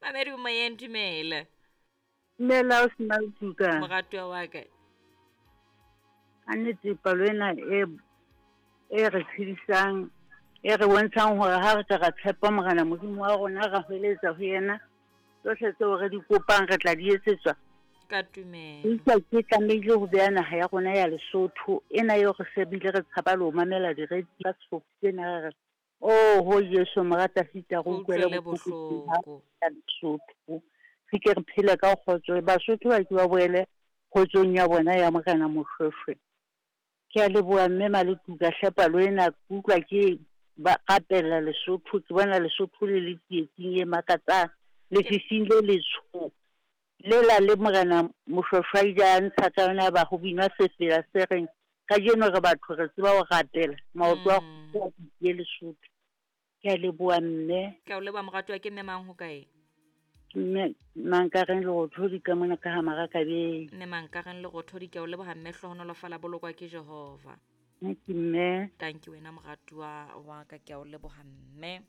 Mamedi o moyeng, dumela. Dumela o sena tuka. Moratuwa wa ka. Ka nnete palo ena e e re tshedisang e re bontshang hore ha re ka ra tshepa Morena Modimo wa rona ra hweletsa ho yena tsohle tseo re di kopang re tla di etsetswa. Ka tumelo. Empa ke tlamehile ho beha naha ya rona ya Lesotho ena eo re se bile re tshaba le ho mamela diredi ka sefofu sena re re Oho Jesu mora Tafita re utlwele bohloko ya Lesotho re ke re phele ka kgotso Basotho ba ke ba boele kgotsong ya bona ya Morena Moshweshwe. Ke a leboha mme Maletuka hle palo ena ke utlwa ke ba rapella Lesotho ke bona Lesotho le le tsietsing e makatsang lefifing le letsho Lela le Morena Moshoeshoe a ile a ntsha ka yona ba ho binwa sefela se reng, Kajeno re batho re tseba ho rapela, maoto a kgopo a tiye Lesotho. Ke a leboha mme. Ke a o leboha moratuwa, ke mme mang ho kae? Ke mme Mankareng Lerothodi ka mona ka ha Marakabeng. Mme Mankareng Lerothodi, ke a o leboha mme, hlohonolofala bolokwa ke Jehova. Thank you mme. Thank you wena moratuwa wa ka, ke a o leboha mme.